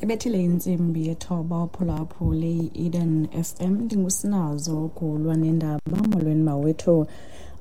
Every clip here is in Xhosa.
Ibethile intsimbi yethoba uphulaphule i-Eden FM. Ndingusinazo Gulwa nendaba. Molweni mawethu.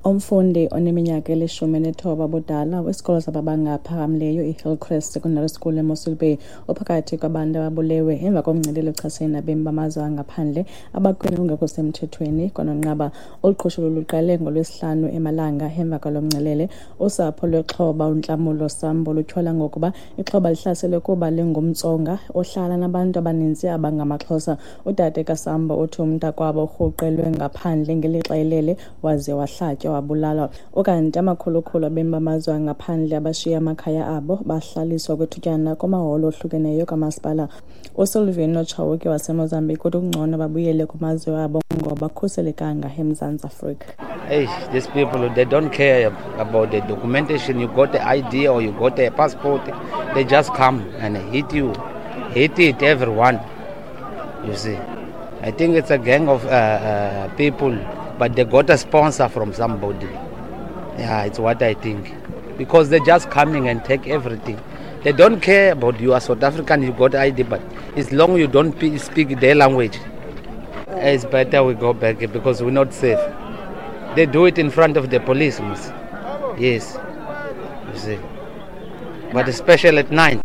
Umfundi oneminyaka eli-19 ubudala wesikolo samabanga aphakamileyo iHillcrest Secondary School eMossel Bay uphakathi kwabantu ababulewe emva komngcelele ochasene nabemi bamazwe angaphandle abakweli ungekho semthethweni kwanonqaba. Olu qhushululu luqale ngoLwesihlanu emalanga emva kwalo mngcelele. Usapho lwexhoba uNtlamulo Sambo lutyhola ngokuba ixhoba lihlaselwe kuba lingumTsonga ohlala nabantu abaninzi abangamaXhosa. Udade kaSambo uthi umntakwabo urhuqelwe ngaphandle ngelixa elele waze wahlatywa wabulalwa. Ukanti amakhulukhulu abemi bamazwe angaphandle abashiya amakhaya abo bahlaliswa kwethutyana kumaholo ohlukeneyo kamasipala. USilvino Chauke waseMozambique uthi kungcono babuyele kumazwe abo ngoba bakhuselekanga eMzantsi Afrika. Hey, these people, they don't care about the documentation. You got the ID or you got a passport. They just come and hit you. Hit it, everyone. You see. I think it's a gang of people, but they got a sponsor from somebody. Yeah, it's what I think. Because they're just coming and take everything. They don't care about you are South African, you got ID, but as long you don't speak their language, it's better we go back because we're not safe. They do it in front of the police. Yes, you see. But especially at night.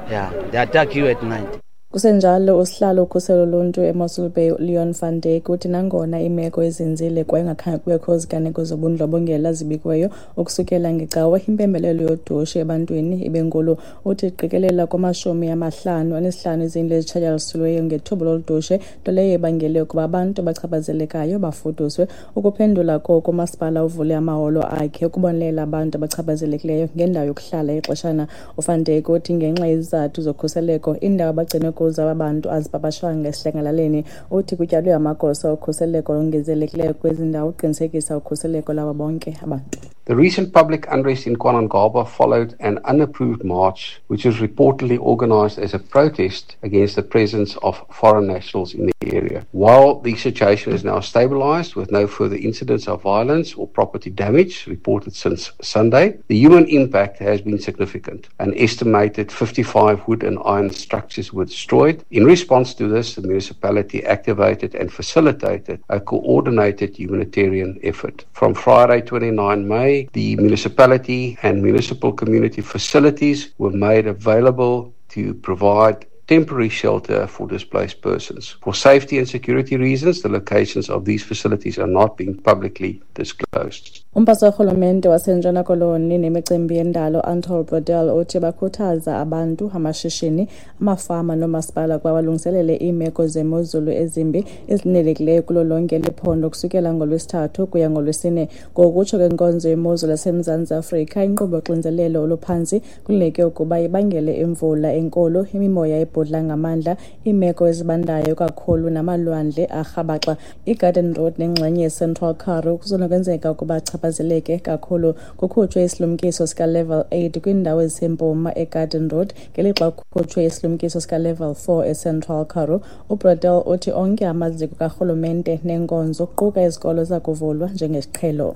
Yeah, they attack you at night. Kusenjalo, usihlalo ukhuselo loluntu eMossel Bay uLeon van Dyk uthi nangona imeko izinzile kwaye kungakhange kubekho ziganeko zobundlobongela zibikiweyo ukusukela ngeCawa, impembelelo yodushe ebantwini ibenkulu. Uthi iqikelela kuma-55 izindlu ezitshatyalalisweyo ngethuba lolu dushe, nto leyo ebangele ukuba abantu abachaphazelekayo bafuduswe. Ukuphendula koku, umasipala uvule amaholo akhe ukubonelela abantu abachaphazelekileyo ngendawo yokuhlala ixeshana. UVan Dyk uthi ngenxa yezizathu zokhuseleko, iindawo abagcinwe kuzo aba bantu azipapashwanga esidlangalaleni. Uthi kutyalwe amagosa okhuseleko ongezelelekileyo kwezi ndawo ukuqinisekisa ukhuseleko lwabo bonke abantu. The recent public unrest in KwaNonqaba followed an unapproved march, which was reportedly organized as a protest against the presence of foreign nationals in the area. While the situation is now stabilized with no further incidents of violence or property damage reported since Sunday, the human impact has been significant. An estimated 55 wood and iron structures were destroyed. In response to this, the municipality activated and facilitated a coordinated humanitarian effort. From Friday 29 May, the municipality and municipal community facilities were made available to provide temporary shelter for displaced persons. For safety and security reasons, the locations of these facilities are not being publicly disclosed. Umphathiswa worhulumente waseNtshona Koloni nemicimbi yendalo Anton Bredell uthi bakhuthaza abantu, amashishini, amafama noomasipala ukuba balungiselele iimeko zemozulu ezimbi ezilindelelekileyo kulo lonke eli phondo kusukela ngoLwesithathu kuya ngoLwesine. Ngokutsho kwenkonzo yemozulu yaseMzantsi Afrika, inkqubo yoxinzelelo oluphantsi kulindeleke ukuba ibangele imvula enkulu, imimoya ebhudla ngamandla, iimeko ezibandayo kakhulu namalwandle arhabaxa. IGarden Road nengxenye yeCentral Karoo kusenokwenzeka ukuba achaphazeleke kakhulu. Kukhutshwe isilumkiso sika-level 8 kwiindawo ezisempuma eGarden Road ngelixa kukhutshwe isilumkiso sika-level 4 eCentral Karoo. UBredell uthi onke amaziko karhulumente neenkonzo kuquka izikolo ziza kuvulwa njengesiqhelo.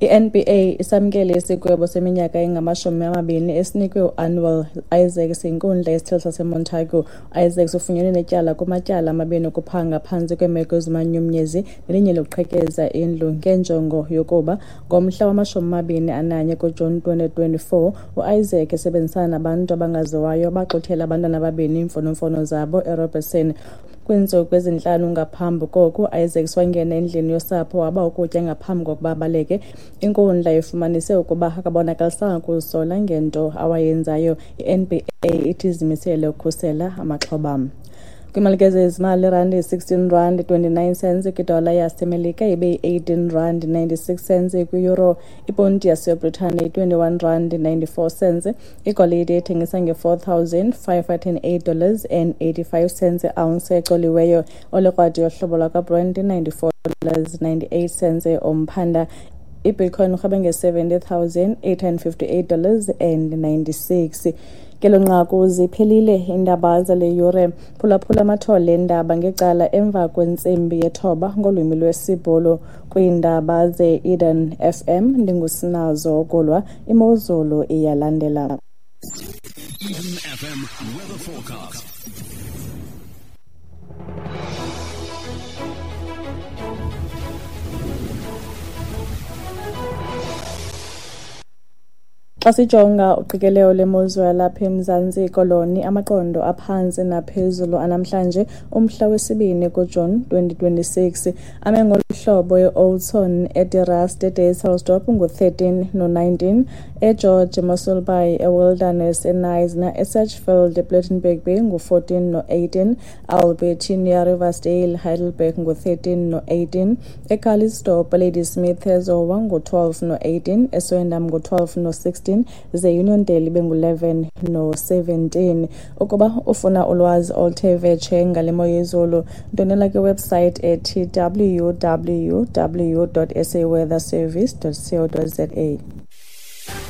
I-NBA isamkele isigwebo seminyaka engama-20 esinikwe u-Anwar Isaacs yinkundla yesithili saseMontagu. U-Isaacs ufunyenwe netyala kumatyala amabini okuphanga phantsi kweemeko ezimanyumnyezi nelinye lokuqhekeza indlu ngenjongo yokuba. Ngomhla wama-21 kuJuni 2024, u-Isaac esebenzisana nabantu abangaziwayo baxuthela abantwana ababini iimfonomfono zabo eRobertson. Kwiintsuku ezintlanu ngaphambi koku, u-Isaacs wangena endlini yosapho waba ukutya ngaphambi kokuba abaleke. Inkundla ifumanise ukuba akabonakalisanga kuzisola ngento awayenzayo. I-NBA ithi izimisele ukukhusela amaxhoba. Kwimalike zezimali, irandi yi-16 rand 29 cents kwidola yaseMelika, ibe yi-18 rand 96 cents kwi-euro. Iponti yaseBritane yi-21 rand 94 cents. Igolide ithengisa nge-$4,508 dollars and 85 cents i-ounce ecoliweyo. Olekrwada yohlobo lwakwaBrent i-94 dollars 98 cents umphanda. Ibitcoin urhabe nge-$70,858 dollars and 96. Ngelo nqaku ziphelile iindaba zale yure. Phulaphula amathole eendaba ngecala emva kwentsimbi yethoba ngolwimi lwesiBhulu. Kwiindaba ze-Eden FM ndingusinazo Kulwa. Imozulu iyalandela. Eden FM weather forecast. Xa sijonga uqikelelo lemozulu yalapha eMzantsi Koloni, amaqondo aphantsi naphezulu anamhlanje umhla wesibini kuJuni 2026 ame ngolu hlobo: eOudtshoorn, eDe Rust, eDysselsdorp ngu-13 no-19, eGeorge, eMossel Bay, eWilderness, eKnysna, eSedgefield, ePlettenberg Bay ngu-14 no-18, Albertinia, Riversdale, Heidelberg ngu-13 no-18, eCalitzdorp, Ladysmith, eZowa ngu-12 no-18, eSwendam ngu-12 no-16, ze Uniondale ibe ngu-11 no-17. Ukuba ufuna ulwazi oluthe vetshe ngale mo yezulu, ndwendwela kwiwebsite ethi www.saweatherservice.co.za.